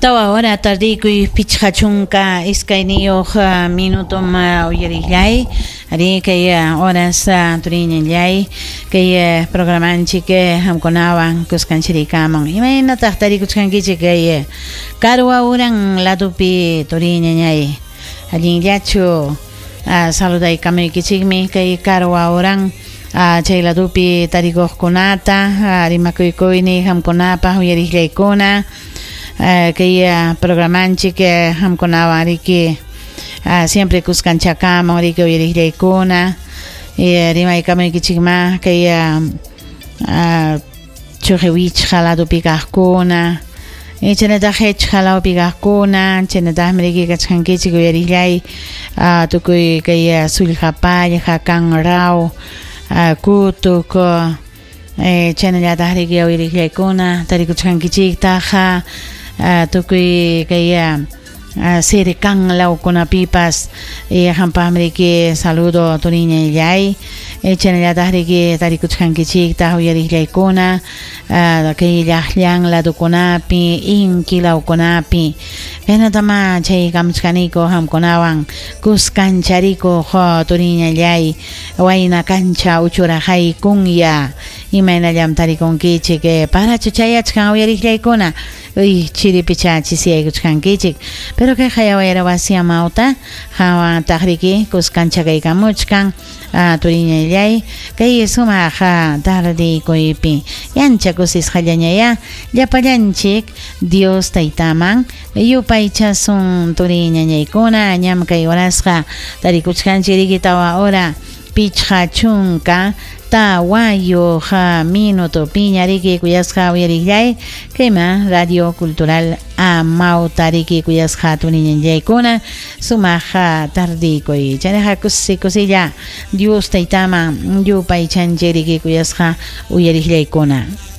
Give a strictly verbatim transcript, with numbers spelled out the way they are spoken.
Tawa hora tardikuy pichqa chunka iskayniyuq minutom uyarillay ari kay horas turiñallay kay programanchik hamkunawan kuskanchirikaman imaynataq tarikuchkankichik kay Karwa uran ladupi turiñañay allinllachu saludaykamaykichikmi kay Karwa uran chay ladupi tarikuqkunata rimakuykuyni hamkunapaq uyarillaykuna kay programanchik hamkunawan riki siempre kuskanchakaman riki uyarillaykuna rimaykamaykichikma kay Chujewichqa ladupi kaqkuna chaynataq Hechqa lawpi kaqkuna chaynataqmi riki kachkankichik uyarillay tukuy kay Sullqapallqa Kanraw Kutuk chaynallataq riki uyarillaykuna tarikuchkankichiktaq tukuy kay Sirikan lawkunapipas hampaqmi riki saludo turiñallay chaynallataq riki tarikuchkankichiktaq uyarillaykuna kay llaqllan ladukunapi inki lawkunapi kaynatama chay kamuchkaniku hamkunawan kuskanchariku turiñallay wayna kancha uchuraqaykunya imaynallam tarikunkichik parachu chayachkan uyarillaykuna uy chiripicha chisiyaykuchkankichik pero kay hayawayra wasi amawta hawantaq riki kuskanchakaykamuchkan turiñallay kay sumaq tardikuypi yancha kusisqallañaya llapallanchik Dios taytaman yupaychasun turiñañaykuna ñam kay horasqa tarikuchkanchik riki tawa hora pichqa chunka tawayuq minuto piña riki kuyasqa uyarillay kayma Radio Cultural Amawta riki kuyasqa turiñañaykuna sumaq tardikuy chaynaqa kusi kusilla Dios taytaman yupaychanchik riki kuyasqa uyarillaykuna.